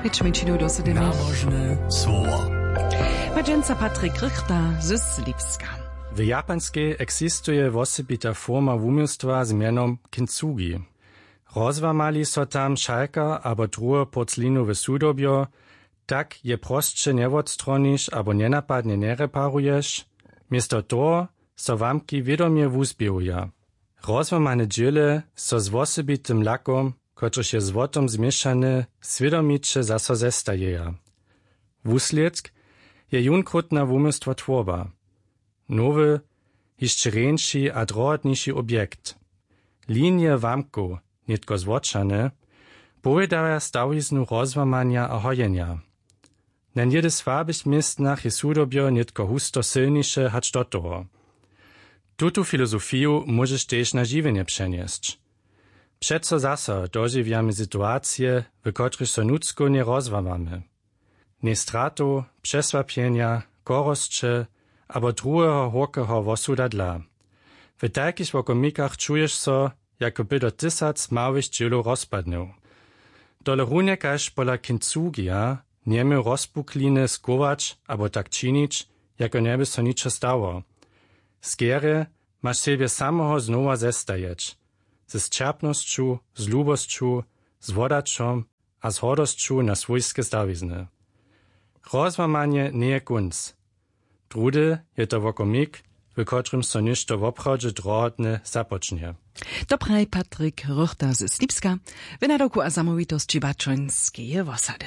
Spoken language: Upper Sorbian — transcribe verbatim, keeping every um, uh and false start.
Pěć mjeńšinow do sedem. Nałožne słowo. Padźenca Patrik Rychta z Lipska. W Japanskej eksistuje wosebita forma wuměłstwa z mjenom kintsugi. Rozłamali so tam šalka abo druhe porclinowe sudobjo, tak je prosće njewotstroniš abo njenapadnje njereparuješ. Město toho so łamki wědomje wuzběhuja. Rozłamane dźěle so z wosebitym lakom, kotryž je złotom změšany, swědomiće zaso zestajeja. Wuslědk je jónkrótna wuměłstwotwórba. Nowy, hišće rjeńši a drohotniši objekt. Linije łamkow, nětko złotšane, powědaja stawiznu rozłamanja a hojenja. Na něhdy słabych městnach je sudobjo nětko husto sylniše hač do toho. Tutu filozofiju móžeš tež na žiwjenje přenjesć. Přeco zaso dožiwjamy situacije, w kotrychž so nutřkownje rozłamamy. Njej stratow, přesłapjenja, chorosće abo druheho hórkeho wosuda dla. W tajkich wokomikach čuješ so, jako by do tysac małych dźělow rozpadnył. Tole runje kaž pola kintsugija njeměł rozpukline schować abo tak činić, jako njeby so ničo stało. Skerje maš sebje samoho znowa zestajeć, ze sćerpnosću, z lubosću, z hłodaćom a z hordosću na swójske stawizny. Rozłamanje njeje kónc. Druhdy je to wokomik, w kotrymž so něšto woprawdźe drohotne započnje. To praji Patrik Rychter z Slipska w nadawku a zamołwitosći Bačońskeje wosady.